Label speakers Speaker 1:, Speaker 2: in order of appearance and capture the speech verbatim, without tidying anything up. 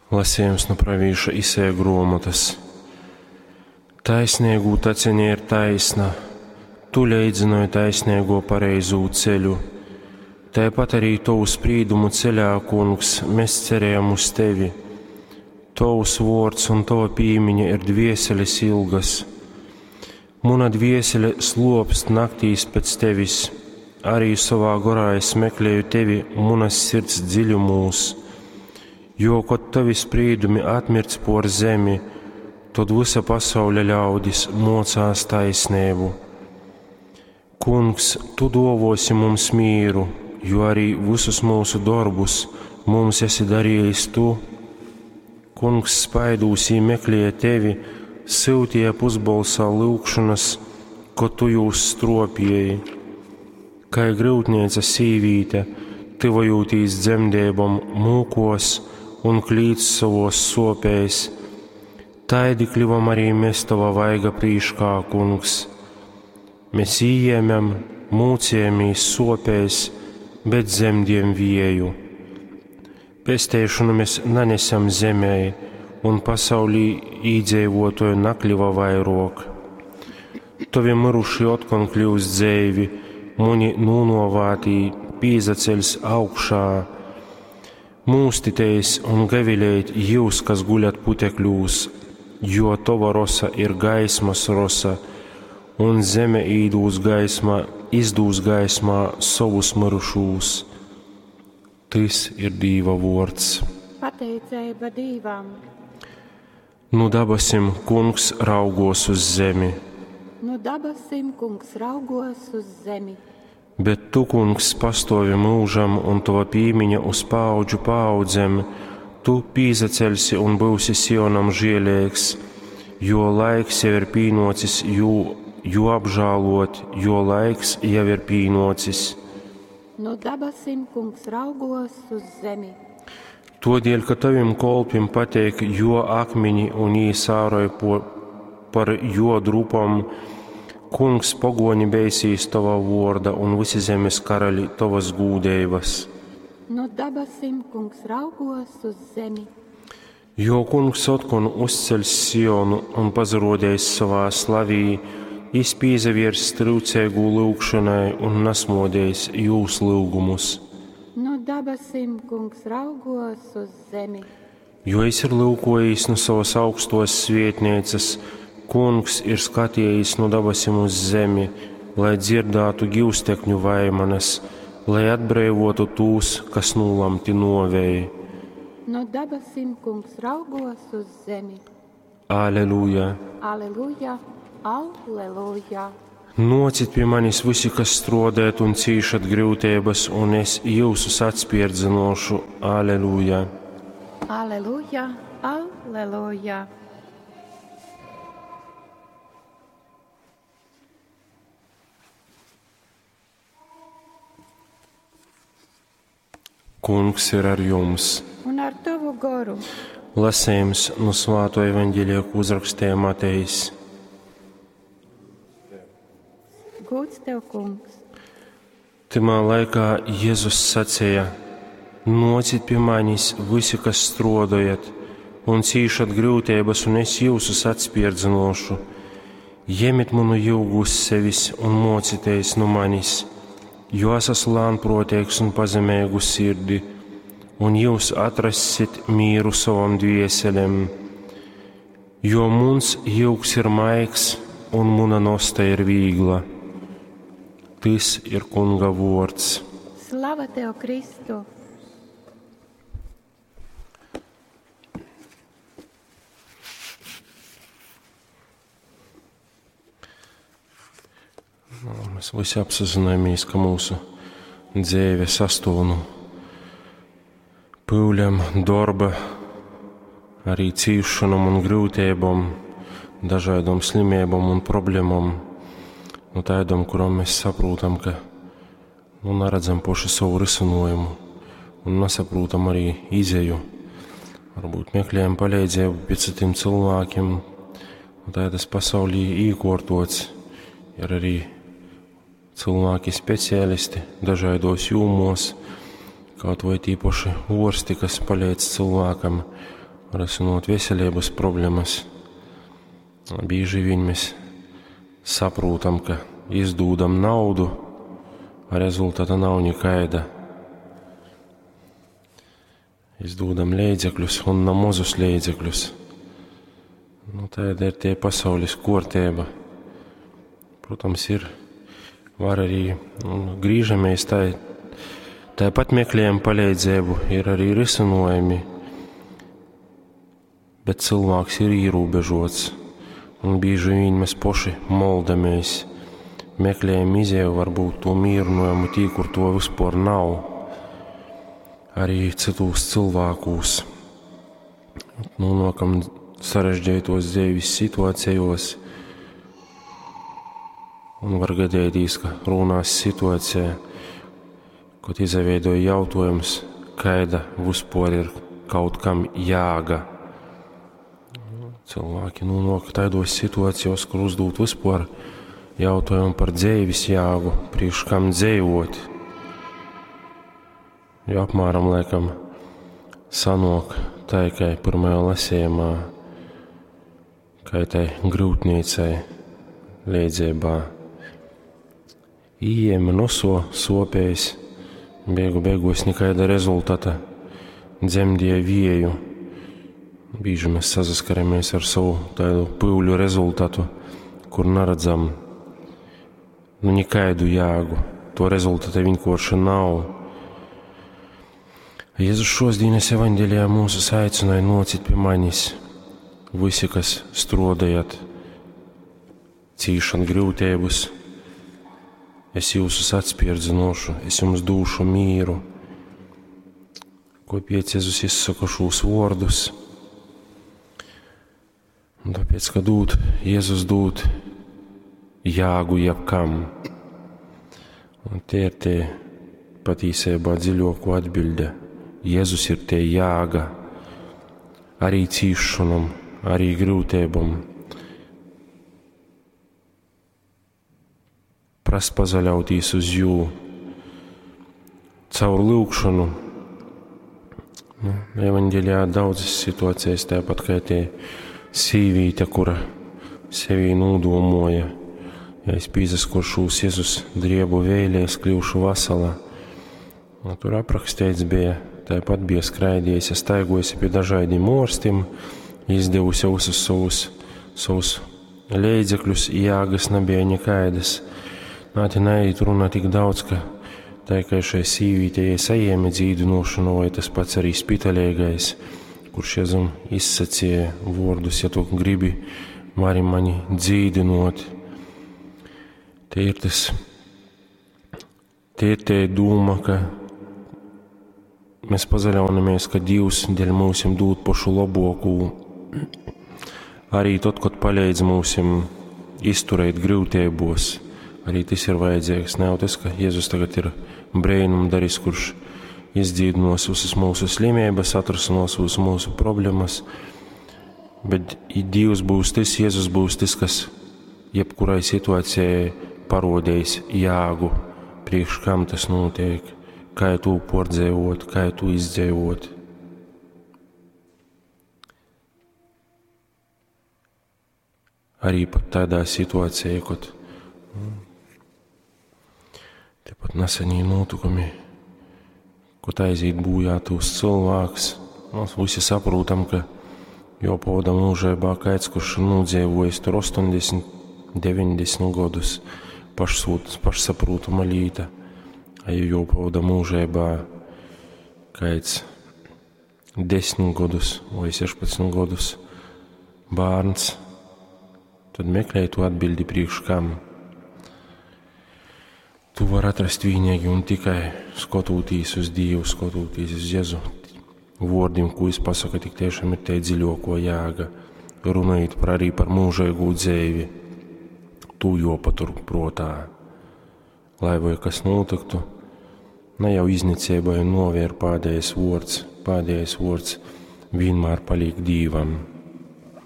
Speaker 1: Lasījums nu pravīša Isaija gruomotys. Taisneigū taceņa ir taisna, tu leidzynoj taisneiguo pareizū ceļu. Taipat arī tovu sprīdumu ceļā, Kungs, mēs cerējam uz tevi. Tovs vuords un tova pīmiņa ir dvieseles ilgas. Muna dviesele slopst naktīs pēc tevis, arī sovā gorā es meklēju tevi munas sirds dziļumūs. Jo, kod tavi sprīdumi atmirdz por zemi, tod vysa pasauļa ļaudis mocās taisneibu. Kungs, tu duovuosi mums mīru, jo arī visus mūsu dorbus mums esi darījis tu. Kungs spaidūs jī meklēja tevi, syutīja pusbolsā lyugšonas, ko tu jūs stropieji. Kai gryutneica sīvīte, tyvojūtīs dzemdeibom, mūkos un klīdz sovos sopēs, taidi klivom arī mēs tava vaiga prīškā, Kungs. Mēs ījēmam, mūcījāmies sopēs, bet zemdiem vieju. Pesteišanu mēs nanesam zemē, un pasaulī īdzeivotoju nakļuva vairok. Tovi miruši otkon kļūs dzeivi, muni nūnovātī pīzaceļs augšā. Mūstiteis un gavilējit jūs, kas guļat putekļūs, jo tova rosa ir gaismas rosa, un zeme īdūs gaismā, izdūs gaismā sovus mirušūs. Tys ir Dīva vuords.
Speaker 2: Pateiceiba Dīvam.
Speaker 1: Nu dabasim Kungs raugos uz zemi.
Speaker 2: Nu dabasim Kungs raugos uz zemi.
Speaker 1: Bet tu, Kungs, pastovi mūžam un tova pīmiņa uz paaudžu paaudzem, tu pīzaceļsi un būsi Sionam žielīgs, jo laiks jau ir pīnocis jū, jū apžālot, jo laiks jau ir pīnocis.
Speaker 2: Nu dabasim Kungs raugos uz zemi.
Speaker 1: Todēļ, ka tavim kolpim pateik jo akmiņi un jī sāroj po, par jo drupom, Kungs pogoņi beisīs tava vorda un visi zemes karaļi tavas gūdeibas.
Speaker 2: Nu dabasim Kungs raugos uz zemi.
Speaker 1: Jo Kungs otkon uzceļs Sionu un pazarodējis savā slavī, jis pīzaviers trūcīgū lyugšanai un nasmodējis jūs lyugumus.
Speaker 2: Nu dabasim Kungs raugos uz zemi.
Speaker 1: Jo es ir lūkojis no savas augstos svietnīcas, Kungs ir skatījis no dabasim uz zemi, lai dzirdātu givstekņu vaimanas, lai atbrīvotu tūs, kas nolamti novēji.
Speaker 2: No dabasim Kungs raugos uz zemi.
Speaker 1: Aleluja!
Speaker 2: Aleluja, aleluja.
Speaker 1: Nocit pie manis visi, kas strodēt un cīšat grūtības, un es jūsus atspierdzinošu. Aleluja!
Speaker 2: Aleluja, aleluja.
Speaker 1: Kungs ir ar jums.
Speaker 2: Un ar tavu goru.
Speaker 1: Lasījums no Svāto evaņģēlija, ko uzrakstīja Matejs.
Speaker 2: Gūds tev, Kungs.
Speaker 1: Timā laikā Jēzus sacīja: Nocit pie manis visi, kas strodojat un cīšat grūtības, un es jūsus atspierdzinošu. Jemit manu jūgu uz sevis un mocieties no manis, jo es esmu lēnprātīgs un pazemīgu sirdi, un jūs atrassit mīru savam dvieselem. Jo muns jūgs ir maigs un muna nosta ir vīgla. Tys ir Kunga vords.
Speaker 2: Slava tev, Kristu!
Speaker 1: Nu, mēs visi apzināmies, ka mūsu dzīve sastāv no pūļiem, darba, arī cīšanām un grūtībām, dažādām slimībām un problēmām. Nu, tādām, kurām mēs saprotam, ka nu, neredzam paši savu risinājumu un nesaprotam arī izeju. Varbūt meklējam palīdzību pie citiem cilvēkiem. Un tā tas pasaulī īkortots. Ir arī cilvēki speciālisti dažādos jomos, kaut vai tīpaši orsti, kas palīdz cilvēkam risinot veselības problemas. Bieži vien mēs saprotam, ka izdūdam naudu, a rezultata nav nikaida. Izdūdam leidzekļus un na mozus leidzekļus. Nu, tāda ir tie pasaules kārtība. Protams, ir, var arī nu, grīžamies tā, tāpat meklējam palīdzību, ir arī risinojumi, bet cilvēks ir ierobežots, un bieži vien mēs poši moldamies, meklējam izēju, varbūt to mierinājumu tī, kur to vispār nav, arī citos cilvēkos. Nonākam sarežģītos dzīves situācijos, un var gadīties, ka runās situācijā, kad izveidoja jautājums, kaida vispār ir kaut kam jāga. Cilvēki nonāk tādos situācijos, kur uzdot vispār jautājumu par dzīves jāgu, priekš kam dzīvot. Jo apmēram laikam sanok tā, kā pirmajā lasījumā, kā tai grūtniecei leidzībā. Ījēma noso sopējs, beigu beigos nekaida rezultata, dzemdīja vieju. Bieži mēs sasaskaramies ar savu tādu pūļu rezultatu, kur neredzam nu nekaidu jāgu. To rezultata vienkārši nav. Jēzus šodienas evaņģēlijā mūsus aicināja nocīt pie manis visi, kas strodējat, cīšan grūtības, es jūsus atspierdzinošu, es jums dūšu mīru. Kāpēc Jēzus izsaka šos vārdus? Un tāpēc, ka dūt, Jēzus dūt jāgu jebkam. Un tie ir tie patīsībā dziļāko atbilde. Jēzus ir tie jāga arī cīšanam, arī grūtībām. Prast pazaļautīs uz jū caur lūgšanu. Nu, evaņģēlijā daudzas situācijas, tāpat kā tie sīvīte, kura sevī nūdomoja, ja es pīzaskoršūs Jēzus driebu vēlē, es kļūšu vasala. Un tur aprakstīts bija, tāpat bija skraidījusi, staigojusi pie dažādiem orstim, izdevusi visus savus, savus leidzekļus, jāgas nebija nekaidas. Nā, te neiet runa tik daudz, ka tā kā šai sīvītei saņēma dzīdinošanu, vai tas pats arī spitaļīgais, kurš Jēzum izsacīja vārdus, ja tu gribi, vari mani dzīdinot. Te ir tas, te ir te doma, ka mēs pazaļaunamies, ka Dievs dēļ mūsim dod pašu labāko. Arī tad, kad palīdz mūsim izturēt grūtībos, arī tas ir vajadzīgs. Nav tas, ka Jēzus tagad ir brīnumdaris, kurš izdzīdinos visas mūsu slimības, atrasinās visas mūsu problēmas, bet Dievs būs tas, Jēzus būs tas, kas jebkurai situācijai parodējis jāgu, priekš kam tas notiek, kā tu pordzēvot, kā tu izdzīvot. Arī pat tādā situācijā, kad tepat nesenie notikumi, kad aiziet bojā tūs cilvēks, mēs visi saprotam, ka jopavada mūžībā kāds, kurš nodzīvojis tur astoņdesmit, deviņdesmit gadus, pašsūt, pašsaprotama lieta, a ja jopavada mūžībā kāds desmit gadus vai sešpadsmit gadus bērns, tad meklē tu atbildi priekš kam. Tu var atrast vienīgi un tikai skatoties uz Dievu, skatoties uz Jēzu vārdiem, ko viņš pasaka, tik tiešām ir te dziļāko jēga. Runājot par arī par mūžīgo dzīvi, tu jopatur prātā. Lai vai kas notiktu, ne jau iznicībai novēr pēdējais vārds, pēdējais vārds vienmēr paliek Dievam.